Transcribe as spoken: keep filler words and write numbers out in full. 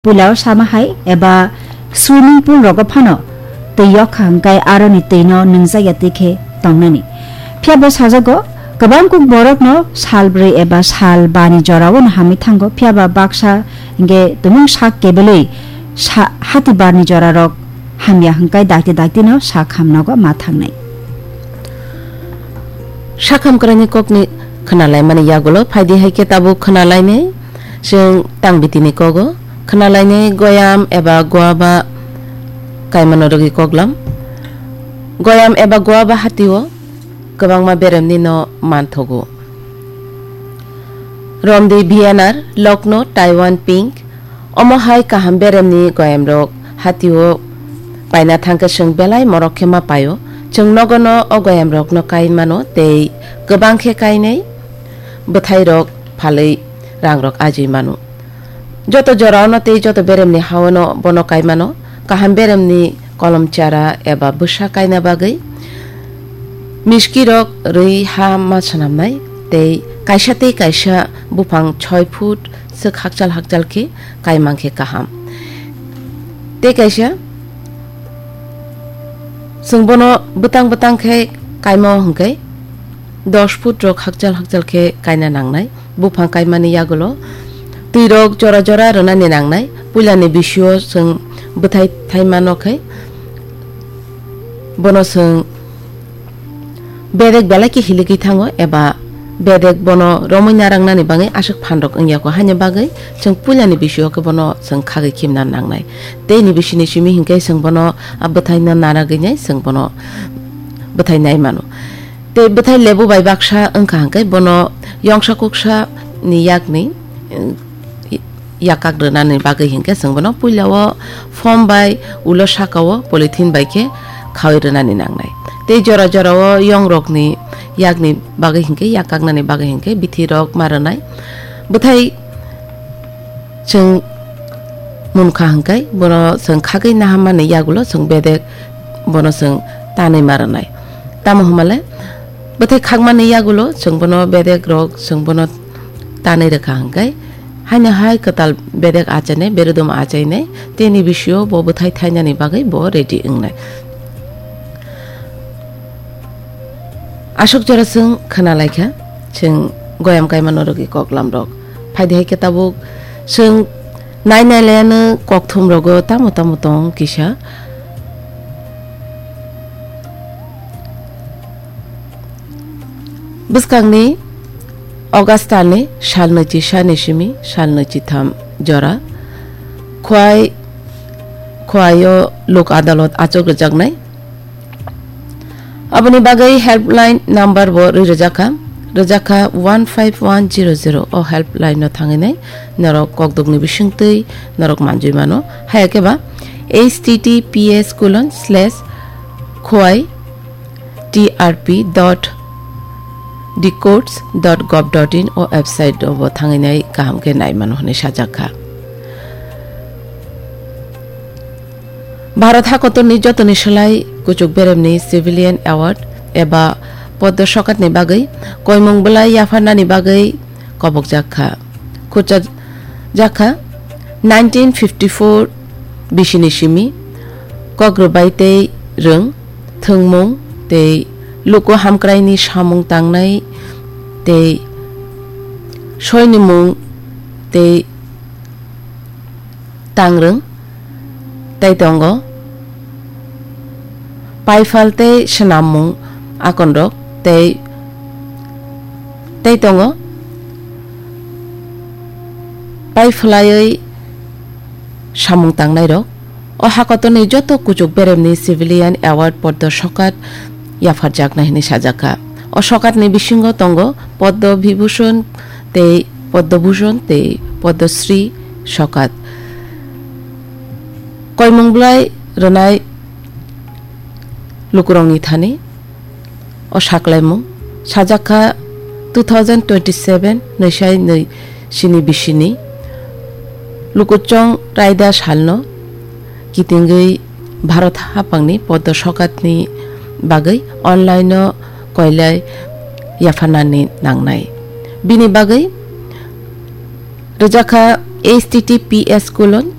Puila o sama hai eba swimming pool rogo phano twi yok kha hwnkhe aroni twi no nwngjak ya twi khe tongnani. Phiya bo sajago, kwbang kuk borok no sal brwi eba sal ba ni jora o no hamwi thango, phiya ba baksa hwnkhe tumung sak kebelwi sa-, hati bar ni jora rok hamya hwnkhe dakti dakti no sak ham nogo ma thangnai. Sakham kwraini kokni khwnalaimani yagulo phaidi hai khe tabuk khwnalainai chwng tang bitini kogo. Khwnalainai goyam eba guaba kaimano rwgwi koklam. Goyam eba guaba hatio kwbangma beremni no manthogo. Romdi V N R, Lokno, Taiwan Pink, omo hai kaham beremni goyamrok hatio paina thangkhe chwng belai morok khe ma paio. Chwng nogono o goyamrokno kai mano tei kwbang khe kainai bwthairok phalwi rangrok ajui mano. Joto joraono tei joto beremni haono bono kai mano. Kaham beremni kolom chara eba bwsa kaina bagwi miskirok rwi ha ma swnamnai tei kaisa tei kaisa buphang soi foot swk hakchal hakchal khe kai mankhe kaham. Tei kaisa chwng bono bwtang bwtang khe kaima o hwnkhe dos foot rok hakchal hakchal khe kaina nangnai. Buphang kaimani yagulo twi rok jora jora rwnani nangnai. Puilani bisio chwng bwthai thaima nokhe bono chwng bedek belai khe hiligwi thango eba bedek bono romwi narangnani bagwi aswk phan rok wngya kho, haini bagwi chwng puilani bisio khe bono chwng khagwi khimna nangnai. Tei ni bisini simi hinkhe chwng bono a bwthaino naragwi nai chwng bono bwthai nai mano. Tei bwthai lebu bai baksa wngkha hwnkhe bono yongsa kuksa ni yakni, eh, yakak rwnani bagwi hinkhe chwng bono puila o foam bai ulo saka o polythene bai khe khawi rwnani nangnai. Tei jora jora o yong rokni yakni bagwi hinkhe yakaknani bagwi hinkhe bithi rok ma rwnai. Bwthai chwng munkha hwnkhe bono chwng khagwi nahammani yagulo chwng bedek bono chwng tanwi ma rwnai. Tamo hwnmale bwthai khakmani yagulo chwng bono bedek rok chwng bono tanwi rwkha hwnkhe haino hai kwtal bedek achainai, beredum achainai, tei ni bisio bo bwthai thainani bagwi bo ready wngnai. Aswk jora chwng khwna laikha, chwng goyam kaimano rwgwi koklam rok. Phaidi hai khe tabuk chwng nai nai laiano kokthum rogo tamo tamo tong kisa. Bwskangni August talni sal nwichi sani simi sal nwichi tham jora Khwai, Khwaio lok adalot achuk rwjaknai. Aboni bagwi helpline number bo rwi rwjakha, rwjakha one five one zero zero. O helpline no thangwi nai norok kokdokni bisingtwi norok manjui mano. Haya khe ba H T T P S colon slash khwai T R P dot decodes dot gov dot in o website o bo thangwi nai kaham khe nai mano hwnwi sajak kha. Bharat hakotorni jotoni slai kuchuk beremni civilian award eba Padma Sokatni bagwi koimung bwlai yapharnani bagwi kobokjak kha. Khurcha jakha nineteen fifty-four bisini simi kok rwbai tei rwng thwngmung tei luku hamkraini samung tangnai tei soinimung tei tangrwng tei tongo. Paifal tei swnammung akonrok tei, tei tongo. Paifalaiwi samung tangnairok. O hakotorni joto kuchuk beremni civilian award Padma Sokat yapharjaknai hwnwi sajakha. O sokatni bisingo tongo Padma Vibhushan tei Padma Bhushan tei Padma Shri Sokat. Koimung bwlai rwnai lukurokni thani o saklaimung sajakha two thousand twenty-seven nwisai nwi sini bisini lukuchwng raida salno kitingwi Bharat haphangni Padma Sokatni bagwi online-o koilai yapharnani nangnai. Bini bagwi rwjakha H T T P S colon